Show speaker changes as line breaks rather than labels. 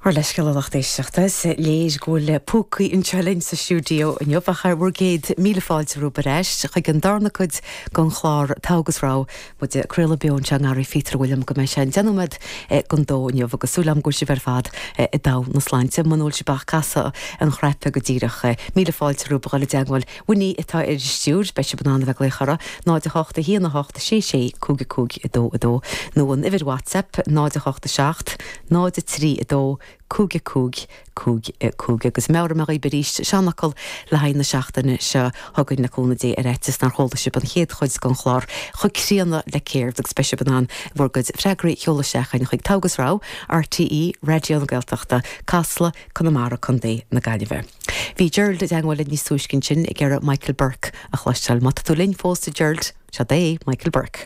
Ár leithscéal a lucht éisteachta, is léir go bhfuil púcaí anseo linn sa stiúideo inniu ach bhur gcéad míle fáilte romhaibh ar ais chuig an darna cuid den chlár Togha agus Rogha, muid ag craoladh beo anseo i nGarraí Phíotair Mhuilliam go mbeidh sé an 10 nóiméad don dó inniu agus súil agam go bhfuil sibh ar fad i dtogha na sláinte, muna bhfuil sibh ach casadh an chnaipe go díreach. Míle fáilte romhaibh a dhul i dteagmháil Winnie atá ar an stiúir, beidh sibh in ann a bheith ag glaoch uirthi, 0 8 1 8 6 6 5 5 2 2, nó an uimhir WhatsApp, 0 8 7 0 3 2 5 5 5 5. Agus meabhraigh mé dhaoibh arís, seanfhocal le haghaidh na seachtaine seo chugainn le cúnamh Dé ar fhaitíos nár chuala sibh an chéad chuid den chlár chomh críonna le céard agus beidh sibh in ann bhur gcuid freagraí a sheoladh isteach chugainn chuig Togha agus Rogha, RTÉ Raidió na Gaeltachta, Casla, Conamara, Co. na Gaillimhe. Bhí Gerald i dteagmháil linn níos túisce ansin ag iarraidh Michael Burke a chloisteáil. Má tá tú linn fós a Gerald, seo é Michael Burke.